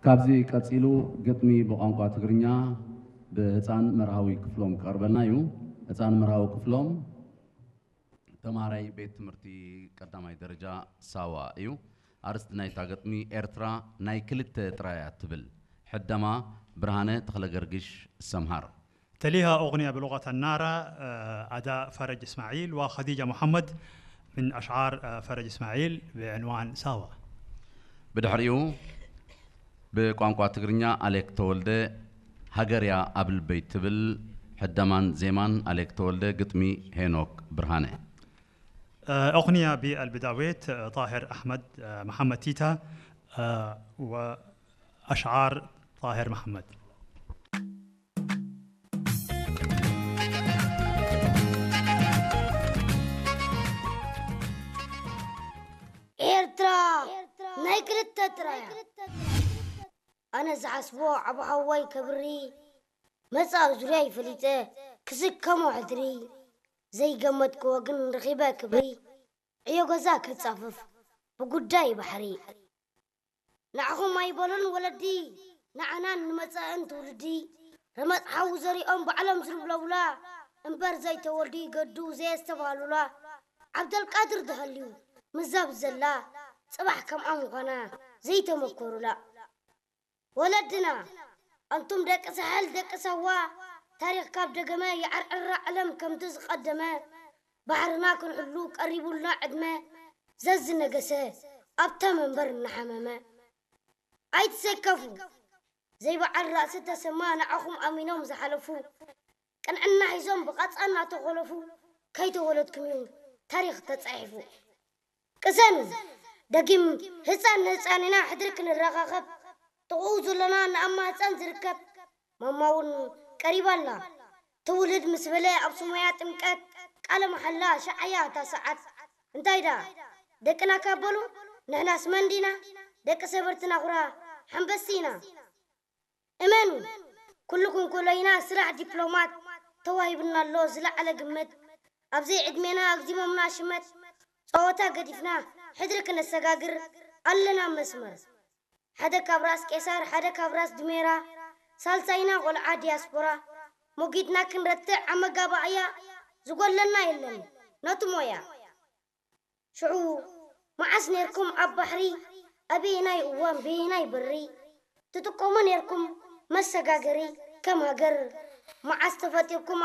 ካብዚ ቀጺሉ ግጥሚ ብቋንቋ ትግርኛ ብህፃን መርሃዊ ክፍሎም ክቐርበልና እዩ። ህፃን መርሃዊ ክፍሎም ተምሃራይ ቤት ትምህርቲ ቀዳማይ ደረጃ ሳዋ እዩ። ኣርእስቲ ናይታ ግጥሚ ኤርትራ ናይ ክልተ ጥራያ ትብል። ሕደማ ብርሃነ ተኽለገርግሽ ሰምሃር። تليها أغنية بلغة النارا، آه، أداء فرج إسماعيل وخديجة محمد من أشعار، آه، فرج إسماعيل بعنوان ساوا. ብድሕሪኡ ብቋንቋ ትግርኛ ኣሌክ ተወልደ ሃገርያ ኣብ ልበይ ትብል። ሕደማን ዜማን ኣሌክ ተወልደ፣ ግጥሚ ሄኖክ ብርሃነ። آه، أغنية بالبداويت، آه، طاهر أحمد، آه، محمد تيتا، آه، وأشعار طاهر محمد. ኤርትራ ናይ ክልተ ጥራያ። ኣነ ዝሓስቦ ዓቢ ሓዋይ ከብሪ መጻ ዙርያ ይፈሊጠ ክስከሞ ሕድሪ ዘይገመትክዎ ግን ረኺበ ክብሪ ዕዮ ገዛ ክጻፍፍ ብጉዳይ ባሕሪ ንዓኹም ኣይበሉን ወለዲ ንዓናን ንመጻእን ትውልዲ ረመጽ ሓዊ ዘሪኦም ባዕሎም ዝልብለቡላ እምበር ዘይተወልዱ ይገዱ ዘየስተብሃሉላ ዓብደልቃድር ተሃልዩ ምዛብ ዘላ ጽባሕ ከምኣ ምዃና ዘይተመኮሩላ ወለድና ኣንቱም ደቂ ሳሕል ደቂ ሳዋ ታሪኽ ካብ ደገመ ይዓርዕራ ዓለም ከምቲ ዝቐደመ ባሕርና ክንሕሉ ቀሪቡልና ዕድመ ዘዝነገሰ ኣብታ መንበር እናሓመመ ኣይትሰከፉ ዘይበዓል ራእሲ ተሰማ ንዓኹም ኣሚኖም ዝሓለፉ ቅንዕና ሒዞም ብቐጻ እናተኾለፉ ከይተወለድኩም እዩ ታሪኽ ተጻሒፉ ቅሰኑ ደጊም ህፃን ንህፃን ኢና ሕድሪ ክንረኻኸብ ጥቕኡ ዘለና ንኣማ ህፃን ዝርከብ ማማ እውን ቀሪባ ኣላ ትውልድ ምስ በለ ኣብ ስሞያ ጥምቀት ቃለ መሓላ ሸዓያ እታ ሰዓት እንታይ ዳ ደቅና ካብ በሉ ንሕናስ መን ዲና ደቂ ሰበርትና ኩራ ሓንበሲ ኢና እመኑ ኩልኩም ኩለይና ስራሕ ዲፕሎማት ተዋሂብና ኣሎ ዝለዓለ ግምት ኣብዘይ ዕድሜና ኣግዚሞምና ሽመት ጸወታ ገዲፍና ሕድሪ ክነሰጋግር ኣለና መስመር ሓደ ካብ ራስ ቄሳር ሓደ ካብ ራስ ድሜራ ሳልሳይና ቆልዓ ዲያስፖራ ሞጊትና ክንረትዕ ኣብ መጋባእያ ዝጎለና የለን ነቲ ሞያ ሽዑ መዓስ ኔርኩም ኣብ ባሕሪ ኣበየናይ እዋን በየናይ በሪ ትጥቀሙ ኔርኩም መሰጋገሪ ከም ሃገር መዓስ ተፈጢርኩም